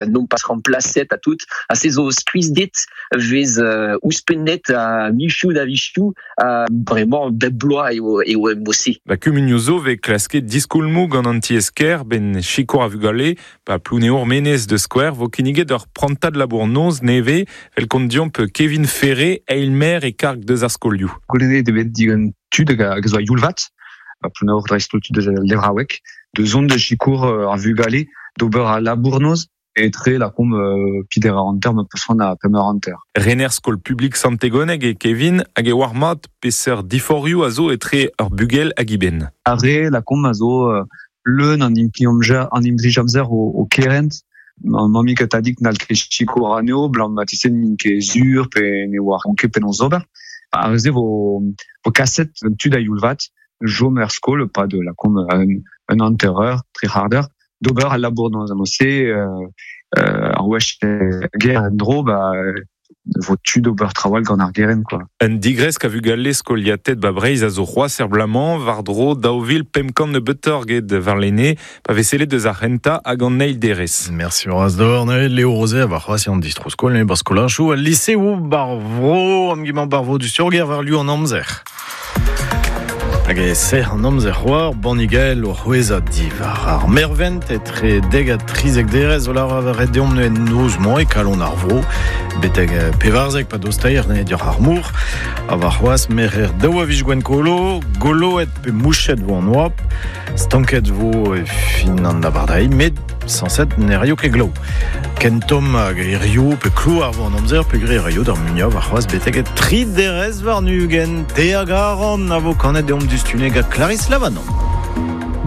Non pas remplaset ha tout ha se zo skuizhded vez ouzhpennet a michoù da vichoù ha bremañ bep bloaz eo eo mod-se. Ba kumunioù zo 'vez klasket diskoulmoù gant an tiez-kêr 'benn sikour ar vugale. Ba Plouneour-Menez da skouer 'vo kinniget ur prantad labour-noz nevez 'vel kont deomp Kevin Ferré, eil-maer e karg deus ar skolioù. Goulennet eo bet digant tud hag a zo a-youl-vat, ba Plouneour dreist-holl tud eus al levraoueg, da zont da sikour ar vugale d'ober al labour-noz etre lakaomp peder eur hanter ma peus c'hoant ha pemp eur hanter. Rener skol publik Sant-Tegoneg eo Kevin hag e oar mat peseurt diforc'hioù a zo etre ur bugel hag eben. Ar re lakaomp a zo leun an implij an implij-amzer o kerent. Mammig ha tadig n'hall ket sikour anezho 'blam ma tise n'int ket sur pe ne oaront ket penaos ober. Ar re-se vo, vo kaset gant tud a-youl vat chom er skol e-pad lakaomp un hanter-eur, tri c'hard eur, d'ober al labour dans se ar wech ger en-dro ba vo tu d'ober traoù all gant ar gerent quoi. Un digresk a vugale skoliated ba Breizh a zo c'hoazh er bloaz-mañ war-dro 2500 nebeutoc'h get warlene pa vez sellet deus ar c'hentañ hag an eil derez. Merci bras d'or neuze Léo Rosé a war c'hoazh an distro-skol ne bar skolajoù al liseoù bar vro am gimañ bar vro du surger war lu an amzer. Hag e serr an amzer c'hoar, bannigael o c'hwezhañ diwar ar mervent etre dek ha trizek derez o lavaret deomp en noz-mañ e kalon ar vro, betek pevarzek pa dostaer ne dioc'h ar mor. Ha warc'hoazh merc'her daou a viz Gwenkolo, goloet pe mouchet vo an oabl, Stanket vo e fin an abardaez, met sañset ne raio ket glav. Ken tomm hag hiziv pe klouar vo an amzer peogwir e raio d'ar muiañ warc'hoazh betek tri derez warn-ugent. Te hag Aaron a vo kanet deomp diouzhtu gant Clarisse Lavanon.